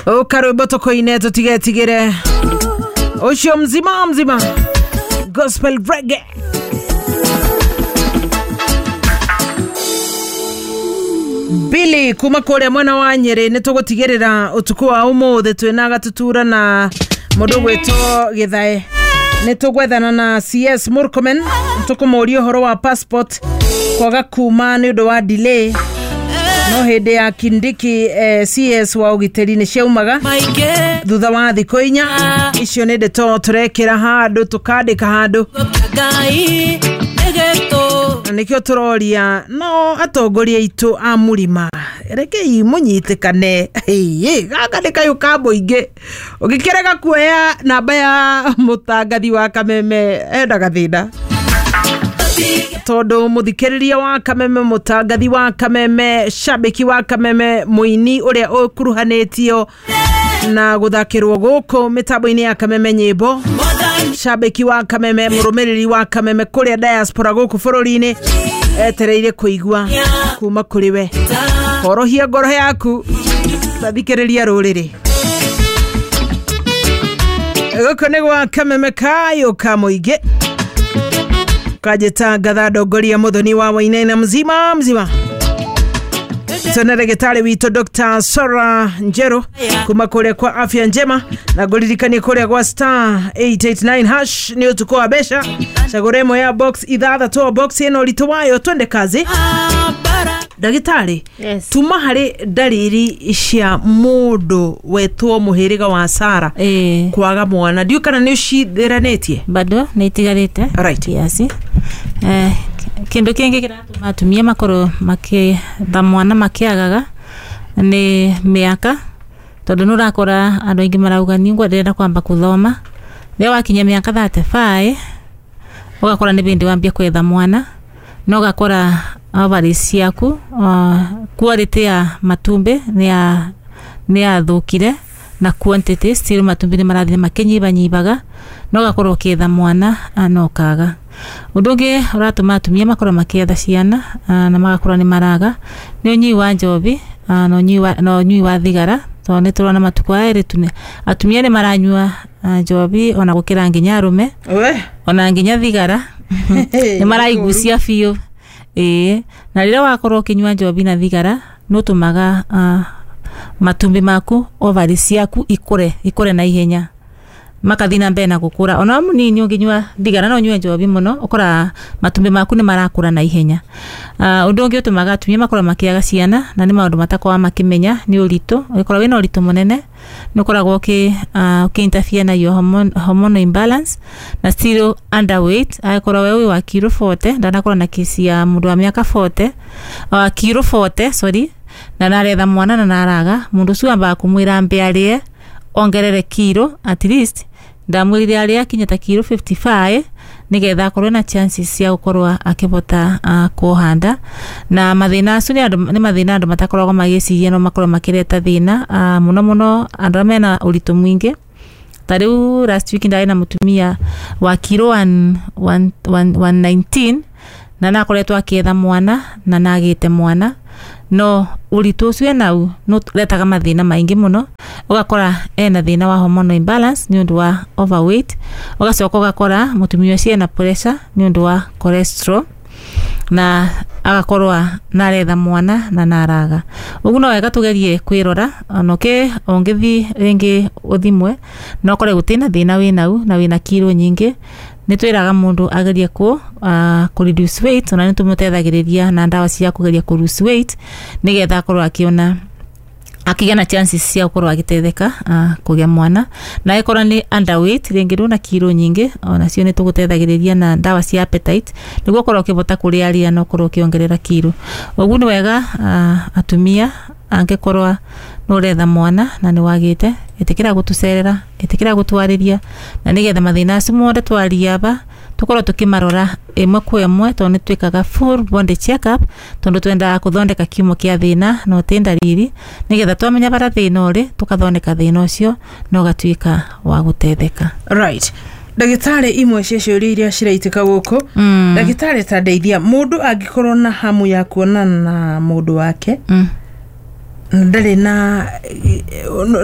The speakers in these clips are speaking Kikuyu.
Ukarwimbo tukuine tutigetigire ucio mzima mzima gospel reggae. Billy kuma kuria mwena wa Nyeri ni tugutigirira utuku wa umuthi twina gatutura na mundu gwitwo Githae. Ni tugwethana na CS Murkomen tukumuria uhoro wa passport kwaga kuma ni undu wa delay no hindi ya Kindiki CS wa ugiteri ni ciaumaga thutha wa thikũ inya. Icio nĩ ndeto tũrekĩra handũ tũkandĩka handũ na nĩkĩo tũroria no atongoria aitũ a mũrima rekei mũnyitĩkane. Gaka nĩ kayũ ka mũingĩ ũngĩkĩrega kuoya namba ya mũtangathi wa Kameme endaga thĩna tondu muthikiriria wa Kameme, mutangathi wa Kameme, shabiki wa Kameme, muini uria ukuruhanitio na guthakirwo guku mitambo-ini ya Kameme nyimbo, shabiki wa Kameme, murumiriri wa Kameme kuria diaspora guku bururi-ini etereire kuigua kuma kuri we. Horohia ngoro yaku tathikiriria ruriri guku ni gwa Kameme kayo ka muingi kajita ngatha ndongoria muthoni wa Wainaina mzima mzima. Tena ndagĩtarĩ witũ Dr. Sora Njeru kuma kũrĩa kwa Afya Njema, na ngũririkanie kũrĩa gwa star 889 hash nĩ ũtukũ wa mbeca. Cagũra ĩmwe ya box ithathatũ, box ĩno ũritũ wayo twende kazi. Ndagĩtarĩ, Yes. tuma harĩ ndariri cia mũndũ wetwo mũhĩrĩga wa Sara kwaga mwana, ndiũ kana nĩ ũcithiranĩtie? Bado nä itigarä Right. kiasi kä ndå kä ngä kä ratå ma atumia makorwo makä mwana makä nä mä aka tondå nä å rakora andå aingä marauga niä ngwenderera kwamba kå thoma rä a wakinya mä aka 35 ũgakora nä bĩndĩ wambia kwetha mwana na ũgakora ovaries ciaku quality ya matumbĩ nĩ yathũkire na quantity still matumbĩ nĩ marathiĩ makĩnyibanyibaga na ũgakorwo ũkĩetha mwana na ũkaga. Ũndũ ũngĩ ũratũma atumia makorwo makĩetha ciana na magakorwo nĩ maraga nĩ ũnyui wa njobi na ũnyui wa thigara tondũ nĩ tũrona matukũ aya erĩ atumia nĩ maranyua njobi ona gũkĩra nginya arũme ona nginya thigara nĩ maraigucia biũ. Ĩĩ, na rĩrĩa wakorwo ũkĩnyua njobi na thigara nĩ ũtũmaga matumbĩ maku ovaries ciaku ikũre na ihenya makathi na mbere na gũkũra. Ona mũnini ũngĩnyua thigara no ũnyue njobi mũno ũkoraga matumbĩ maku nĩ marakũra na ihenya. Ũndũ ũngĩ ũtũmaga atumia makorwo makĩaga ciana na nĩ maũndũ matakoragwo makĩmenya nĩ ũritũ. Ũngĩkorwo wĩna ũritũ mũnene nĩ ũkoragwo ũkĩ interfere na your hormonal imbalance na still underweight. Angĩkorwo we wĩ wa kiro 40 ndanakorwo na kesi ya mũndũ wa mĩaka 40 kiro 40 sorry na naretha mwana na naraga mũndũ ũcio ambaga kũmwĩra ambe arĩe ongerere kiro at least ndamwĩrire arĩe akinye ta kiro 55 nĩgetha akorwo na chances cia gũkorwo akĩhota kuoha nda. Na mathĩna acio nĩ mathĩna andũ matakoragwo magĩciria no makorwo makĩreta thĩna mũno mũno andũ arĩa mena ũritũ mũingĩ. Ta rĩu last week ndarĩ na mũtumia wa kiro 119 na nakoretwo akĩetha mwana na nagĩte mwana no ũritũ ũcio enau nĩ ũretaga mathĩna maingĩ mũno. Ũgakora ena thĩna wa hormonal imbalance nĩ ũndũ wa overweight, ũgacoka ũgakora mũtumia ũcio ena pressure nĩ ũndũ wa cholesterol na agakorwo naretha mwana na naraga. Ũguo no wega tũgerie kwĩrora ona ũngĩthiĩ rĩngĩ ũthimwe na ũkore gũtirĩ na thĩna wĩnau na wĩna kiro nyingĩ nĩ twĩraga mũndũ agerie kũ reduce weight ona nĩ tũmũteithagĩrĩria na ndawa cia kũgeria kũ lose weight nĩgetha akorwo akĩona akĩgĩa na chances cia gũkorwo agĩteithĩka kũgĩa mwana. Na angĩkorwo nĩ underweight rĩngĩ ndũna kiro nyingĩ ona cio nĩ tũgũteithagĩrĩria na ndawa cia appetite nĩguo ũkorwo ũkĩhota kũrĩa rĩa na ũkorwo ũkĩongerera kiro. Ũguo nĩ wega atumia angĩkorwo nĩ ũretha mwana na nĩ wagĩte ĩtĩkĩra gũtũcerera, ĩtĩkĩra gũtwarĩria na nĩgetha mathĩna acio mothe twaria aba tũkorwo tũkĩmarora ĩmwe kwa ĩmwe tondũ nĩ twĩkaga full body check up tondũ twendaga kũthondeka kiumo kĩa thĩna no ti ndariri nĩgetha twamenya bara thĩna ũrĩ tũkathondeka thĩna ũcio na ũgatuĩka wa gũteithĩka. Right. Ndagĩtarĩ, imwe cia ciũria iria ciraitĩka gũkũ, ndagĩtarĩ ta ndeithia, mũndũ angĩkorwo na hamu ya kuonana na mũndũ wake Ndarĩ na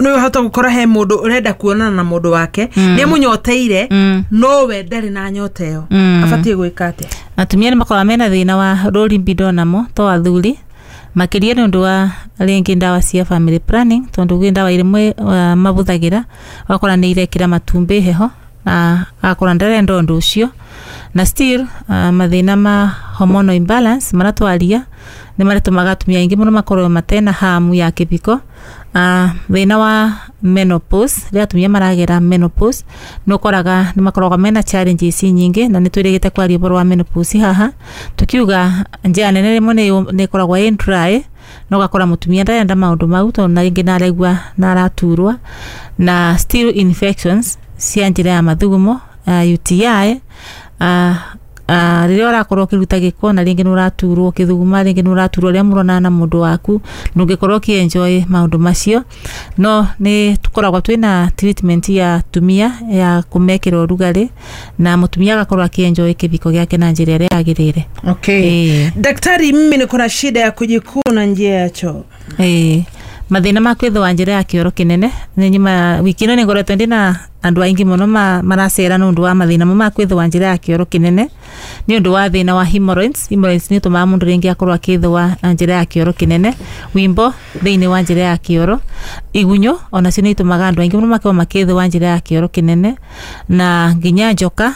nĩ ũhota gũkora he mũndũ ũrenda kuonana na mũndũ wake, nĩ amũnyoteire, no we ndarĩ na nyota ĩyo. Abatiĩ gwĩka atĩa? Atumia nĩ makoragwo mena thĩna wa low libido namo to athuri, makĩria nĩ ũndũ wa rĩngĩ ndawa cia family planning, tondũ gwĩ ndawa imwe mabũthagĩra, ũgakora nĩ irekĩra matumbĩ heho na agakora ndarenda ũndũ ũcio. Na still mathĩna ma hormonal imbalance marĩa twaria nĩ marĩtũmaga atumia aingĩ mũno makorwo matena hamu ya kĩbiko. Thĩna wa menopause, rĩrĩa atumia maragera menopause nĩ ũkoraga nĩ makoragwo mena challenges nyingĩ, na nĩ twĩrĩgĩte kwaria ũhoro wa menopause haha, tukiuga njĩra nene rĩmwe nĩ ĩkoragwo ĩ dry, na ũgakora mũtumia ndarenda maũndũ mau tondũ na rĩngĩ nĩaraigua nĩaraturwa. Na still infections cia njĩra ya mathugumo, UTI, rĩrĩa ũrakorwo ũkĩruta gĩko na rĩngĩ nĩ ũraturwo ũkĩthuguma, rĩngĩ nĩ ũraturwo rĩrĩa mũronana na mũndũ waku, ndũngĩkorwo ũkĩ-enjoy maũndũ macio. No nĩ tũkoragwo twĩna treatment ya atumia ya kũmekĩra ũrugarĩ na mũtumia agakorwo akĩ-enjoy kĩbiko gĩake na njĩra ĩrĩa yagĩrĩire. Okay. Daktari, mimi niko na shida ya kujikuna njia ya choo. Ĩĩ, mathĩna ma kwĩthũa njĩra ya kĩoro kĩnene nĩ nyuma wiki ĩno nĩ ngoretwo ndĩna andũ aingĩ mũno maracera nĩ ũndũ wa mathĩna mo ma kwĩthũa njĩra ya kĩoro kĩnene, nĩ ũndũ wa thĩna wa hemorrhoids. Hemorrhoids nĩ ũtũmaga mũndũ rĩngĩ akorwo akĩthũa njĩra ya kĩoro kĩnene, wimbo thĩinĩ wa njĩra ya kĩoro, igunyũ onacio nĩ itũmaga andũ aingĩ mũno makorwo makĩthũa njĩra ya kĩoro kĩnene, na nginya njoka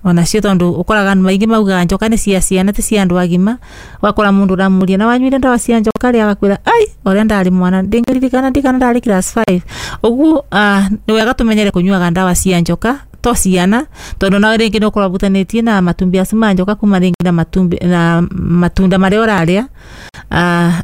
onacio, tondũ ũkoraga andũ aingĩ maugaga njoka nĩ cia ciana ti cia andũ agima. Ũgakora mũndũ ũramũria na wanyuire ndawa cia njoka rĩ, agakwĩra ai ũrĩa ndarĩ mwana ndingĩririkana ndikana ndarĩ class 5 ũguo. Nĩ wega tũmenyere kũnyuaga ndawa cia njoka to ciana, tondũ nawe rĩngĩ nĩ ũkorwo ũbutanĩtie na matumbĩ acio ma njoka kuma rĩngĩ na matumbĩ na matunda marĩa ũrarĩa,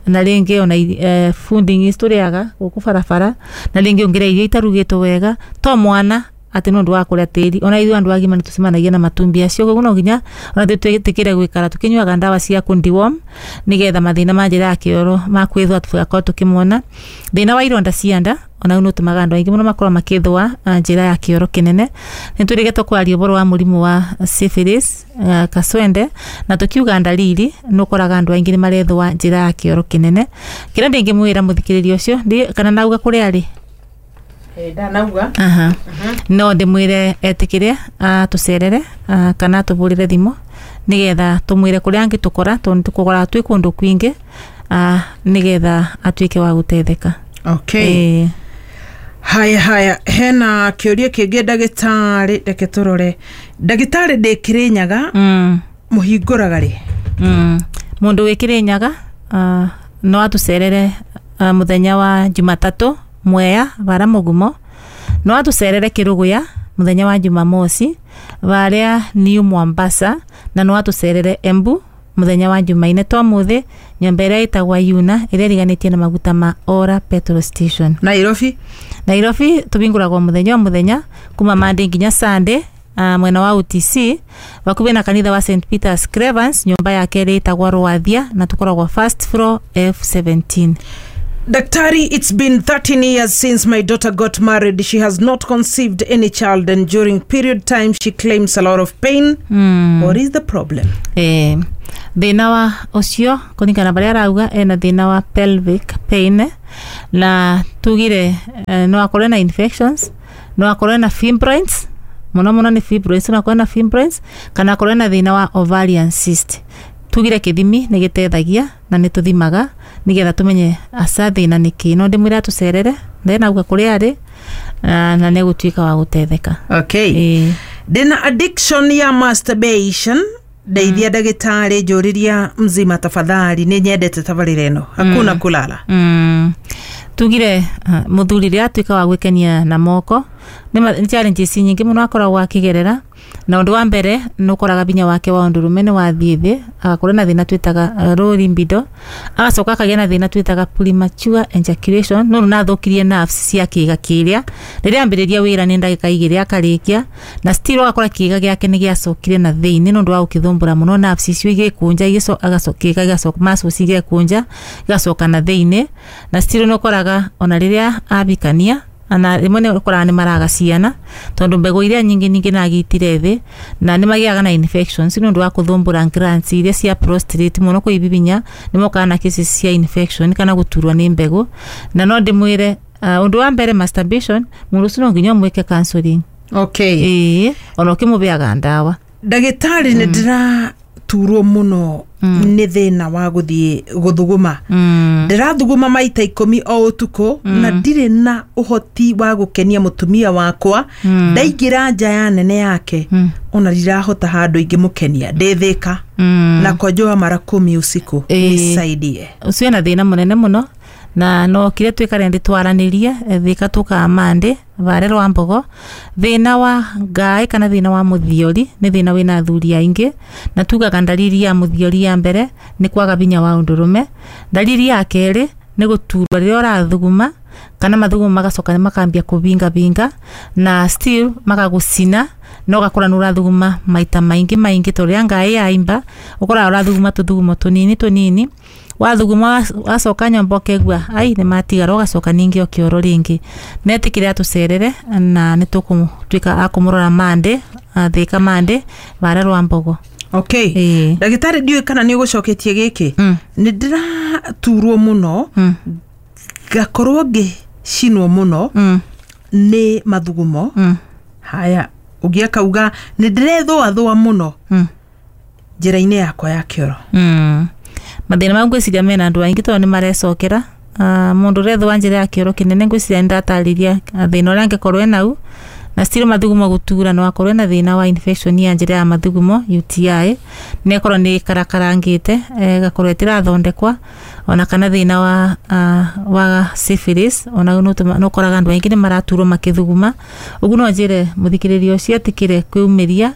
na rĩngĩ ona fooding tũrĩaga gũkũ barabara, na rĩngĩ ũngĩrĩa irio itarugĩtwo wega to mwana atĩ nĩ ũndũ wa kũrĩa tĩri, ona ithuĩ andũ agima nĩ tũcemanagia na matumbĩ acio. Koguo no nginya ona twĩtĩkĩre gwĩkara tũkĩnyuaga ndawa cia kũndeworm nĩgetha mathĩna ma njĩra ya kĩoro ma kwĩthũa tũgakorwo tũkĩmona. Thĩna wa ironda cia nda ona nĩ ũtũmaga andũ aingĩ mũno makorwo makĩthũa njĩra ya kĩoro kĩnene. Nĩ twĩrĩgĩte kwaria ũhoro wa mũrimũ wa syphilis, kaswende, na tũkiuga ndariri nĩ ũkoraga andũ aingĩ nĩ marethũa njĩra ya kĩoro kĩnene. Kĩrĩa ndĩngĩmwĩra mũthikĩrĩria ũcio kana nauga kũrĩa arĩ. Ndanauga. Aha. No ndĩmwĩre etĩkĩre atũcerere kana atũbũrĩre thimũ nĩgetha tũmwĩre kũrĩa angĩtũkora, tondũ tũkoraga twĩ kũndũ kwingĩ, nĩgetha atuĩke wa gũteithĩka. Okay. Ĩĩ. Haya haya, hena kĩũria kĩngĩ ndagĩtarĩ, reke tũrore. Ndagĩtarĩ, ndĩ Kĩrĩnyaga, mũhingũraga rĩ? Mũndũ wĩ Kĩrĩnyaga no atũcerere mũthenya wa Jumatatũ Mwea bara Mũgumo, no atũcerere Kĩrũgũya mũthenya wa Jumamosi barĩa New Mombasa, na no atũcerere Embu mũthenya wa Jumaine to mũthĩ, nyũmba ĩrĩa ĩtagwa Yuna ĩrĩa ĩriganĩtie na maguta ma Ora petrol station. Nairobi? Nairobi tũbingũragwo mũthenya o mũthenya kuma Monday nginya Sunday, mwena wa UTC bakubi na kanitha wa St Peters Cravens, nyũmba ya kerĩ ĩtagwa Rwathia, na tũkoragwo first floor F17. Daktari, it's been 13 years since my daughter got married. She has not conceived any child, and during period time she claims a lot of pain. What is the problem? Thĩna wa ũcio kũringana na barĩa arauga ena thĩna wa pelvic pain, na tugire no akorwo na infections, no akorwo na fibroids, mũno mũno nĩ fibroids, no akorwo na fibroids kana akorwo na thĩna wa ovarian cyst. Tugire kĩthimi nĩ gĩteithagia na nĩ tũthimaga nĩgetha tũmenye aca thĩna nĩ kĩ. No ndĩmwĩre atũcerere ndenauga kũrĩa arĩ na nĩ gũtuĩka wa gũteithĩka. Okay. Ĩĩ. Ndĩna addiction ya masturbation, ndeithia ndagĩtarĩ, njũrĩria mzima tafadhali, nĩ nyendete tabarĩra ĩno, hakuna kulala. Tugire mũthuri rĩrĩa atuĩka wa gwĩkenia na moko nĩ challenges nyingĩ mũno akoragwo akĩgerera, na ũndũ wa mbere nĩ ũkoraga binya wake wa ũndũrũme nĩ wathiĩ thĩ, agakorwo na thĩna twĩtaga low libido, agacoka akagĩa na thĩna twĩtaga premature ejaculation, no nathũkirie nerves cia kĩĩga kĩrĩa rĩrĩa ambĩrĩria wĩra nĩ ndagĩka 2 akarĩkia, na still ũgakora kĩĩga gĩake nĩ gĩacokire na thĩinĩ nĩ ũndũ wa gũkĩthumbũra mũno, nerves icio igĩkũnja, kĩĩga gĩgacoka, muscles igekũnja igacoka na thĩinĩ, na still nĩ ũkoraga ona rĩrĩa abikania Na rĩmwe nĩ ũkoraga nĩ maraga ciana tondũ mbegũ iria nyingĩ ningĩ nagitire thĩ, na nĩ magĩaga na infections nĩ ũndũ wa kũthumbũra glands iria cia prostate mũno kwĩbibinya. Nĩ mokaga na cases cia infection kana gũturwo nĩ mbegũ. Na no ndĩmwĩre, ũndũ wa mbere, masturbation, mũndũ ũcio no nginya ũmwĩke counseling. Ĩĩ, ona ũkĩmũbeaga ndawa. Ndagĩtarĩ, nĩ ndĩraturwo mũno nĩ thĩna wa gũthiĩ gũthuguma. Ndĩrathuguma maita 10 o ũtukũ na ndirĩ na ũhoti wa gũkenia mũtumia wakwa. Ndaingĩra nja ya nene yake, ona ndirahota handũ ingĩmũkenia. Ndĩthĩka na kojoa mara 10 usiku. Nisaidie. Ũcio ena thĩna mũnene mũno, na no kire twikare ndĩ twaranĩrie thika tukamande vare rwa mbogo. Thĩna wa ngaĩ kana thĩna wa mũthiori nĩ thĩna wĩna athuri aingĩ, na tugaga ndariri ya mũthiori ya mbere nĩ kwaga binya wa ũndũrũme. Ndariri ya kerĩ nĩ gũturwo rĩrĩa ũrathuguma, kana mathugumo magacoka makambia kũbingabinga na still magagũcina, na ũgakora nĩ ũrathuguma maita maingĩ maingĩ, tondũ rĩrĩa ngaĩ yaimba ũkoraga ũrathuguma tũthugumo tũnini tũnini. Wathuguma, wacoka nyũmba, ũkegua ai nĩ matigara, ũgacoka ningĩ ũkĩoro rĩngĩ. Netĩkĩre atũcerere na nĩ tũkũtuĩka a kũmũrora mande thĩka mande vara rwa mbogo. Okay. Ndagĩtarĩ, ndiũĩ kana nĩ ũgũcoketie gĩkĩ. Nĩ ndĩraturwo mũno, ngakorwo ngĩcinwo mũno nĩ mathugumo. Haya, ũngĩ akauga nĩ ndĩrethũathũa mũno njĩra-inĩ yakwa ya kĩoro. Mathĩna mau ngwĩciria mena andũ aingĩ tondũ nĩ marecokera. Mũndũ ũrethũa njĩra ya kĩoro kĩnene, ngwĩciria nĩ ndatarĩria thĩna ũrĩa angĩkorwo enau. Na still mathugumo gũtura, no akorwo ena thĩna wa infection ya njĩra ya mathugumo, UTI, nĩ akorwo nĩ karakarangĩte, ĩgakorwo ĩtĩrathondekwa, ona kana thĩna wa syphilis. Ona nĩ ũkoraga andũ aingĩ nĩ maraturwo makĩthuguma. Ũguo no njĩre mũthikĩrĩria ũcio etĩkĩre kwĩyumĩria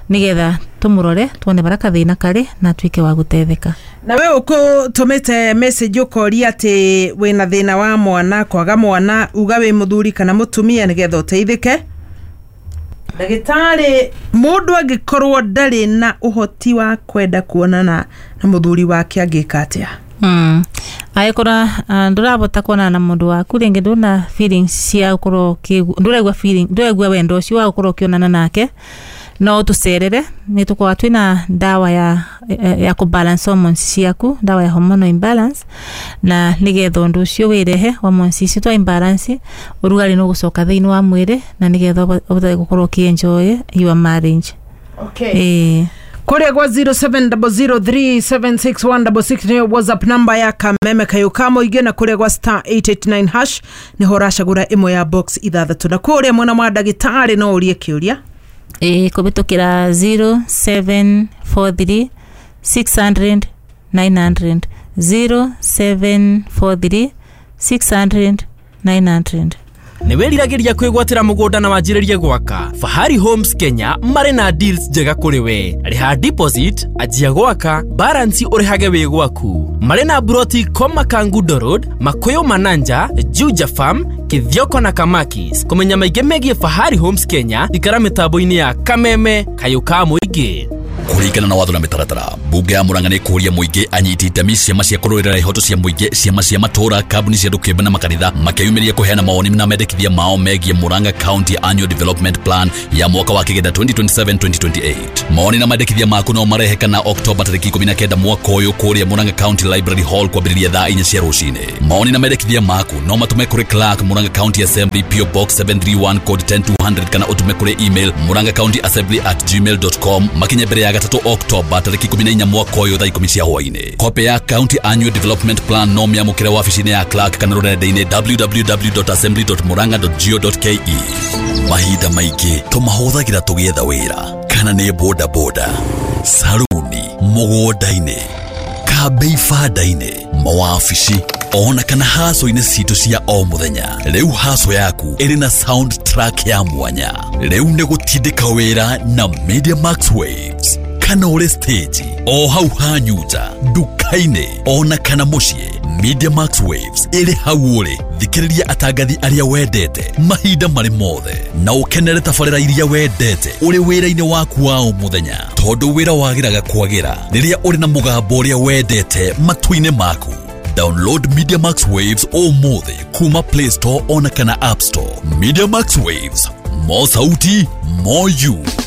nĩgetha tũmũrore tuone barĩa kathĩna karĩ na atuĩke wa gũteithĩka. Na we ũkũtũmĩte message ũkoria atĩ wĩna thĩna wa mwana, kwaga mwana, uga wĩ mũthuri kana mũtumia nĩgetha ũteithĩke. Ndagĩtarĩ, mũndũ angĩkorwo ndarĩ na ũhoti wa kwenda kuonana na mũthuri wake, angĩka atĩa? Angĩkorwo ndũrabota kuonana na mũndũ waku rĩngĩ, ndũna feelings cia gũkorwo ndũraigua feeling, ndũraigua wendo ũcio wa gũkorwo ũkĩonana nake, no ũtũcerere. Nĩ tũkoragwo twĩna ndawa ya kũbalance hormones ciaku, ndawa ya hormonal imbalance, na nĩgetha ũndũ ũcio wĩrehe hormones icio twa imbalance, ũrugarĩ nĩ ũgũcoka thĩinĩ wa mwĩrĩ, na nĩgetha ũhote gũkorwo ũkĩ-enjoy your marriage. Okay. Kũrĩa gwa 0700376166 nĩyo WhatsApp number ya Kameme Kayũ ka Mũingĩ, na kũrĩa gwa *889# nĩho ũracagũra ĩmwe ya box ithathatũ, na kũrĩa mwena wa ndagĩtarĩ no ũrie kĩũria. Ĩĩ, kũhĩtũkĩra 0743 600 900, 0743 600 900. Nĩ wĩriragĩria kwĩgwatĩra mũgũnda na wanjĩrĩrie gwaka? Fahari Homes Kenya marĩ na deals njega kũrĩ we. Rĩha deposit, anjia gwaka, balance ũrĩhage wĩ gwaku. Marĩ na buroti Koma, Kangundo Road, Makuyu, Mananja, Juja Farm, Kithioko na Kamakis. Kũmenya maingĩ megiĩ Fahari Homes Kenya, ikara mĩtambo-inĩ ya Kameme Kayũ ka Mũingĩ. Kũringana na watho na mĩtaratara, mbunge ya Murang'a nĩ kũũria mũingĩ, anyiti itemi, ciama cia kũrũĩrĩra ihoto cia mũingĩ, ciama cia matũũra, kambuni cia andũ kĩũmbe na makanitha makeyumĩria kũheana mawoni na mendekithia mao megiĩ Murang'a County Annual Development Plan ya mwaka wa kĩgenda 2027-2028. Mawoni na mendekithia maku no marehe kana Oktoba tarĩki 19 mwaka ũyũ kũrĩa Murang'a County Library Hall kwambĩrĩria thaa 4 cia rũcinĩ. Mawoni na mendekithia maku no matũme kũrĩ Clerk, Murang'a County Assembly, PO Box 731, code 10200, kana ũtũme kũrĩ email murang'acounty.assembly@gmail.com makinye mbere ya gatatũ Oktoba tarĩki 14 mwaka ũyũ thaa 10 cia hwaĩ-inĩ. Kopĩ ya County Annual Development Plan no mĩamũkĩre wabici-inĩ ya Clerk kana rũrenda-inĩ www.assembly.murang'a.go.ke. Mahinda maingĩ tũmahũthagĩra tũgĩetha wĩra, kana nĩ bodaboda, saruni, mũgũnda-inĩ, kambĩ, ibanda-inĩ, mawabici, ona kana haco-inĩ citũ cia o mũthenya. Rĩu haco yaku ĩrĩ na sound track ya mwanya. Rĩu nĩ gũtindĩka wĩra na Media Max Waves, kana ũrĩ stage o hau hanyuja, nduka-inĩ, ona kana mũciĩ, Media Max Waves ĩrĩ hau ũrĩ. Thikĩrĩria atangathi arĩa wendete mahinda marĩ mothe na ũkenere tabarĩra iria wendete ũrĩ wĩra-inĩ waku wa o mũthenya, tondũ wĩra wagĩraga kwagĩra rĩrĩa ũrĩ na mũgambo ũrĩa wendete matũ-inĩ maku. Download MediaMax Waves ũmũthĩ kuma Play Store ona kana App Store. MediaMax Waves, more sauti, more you.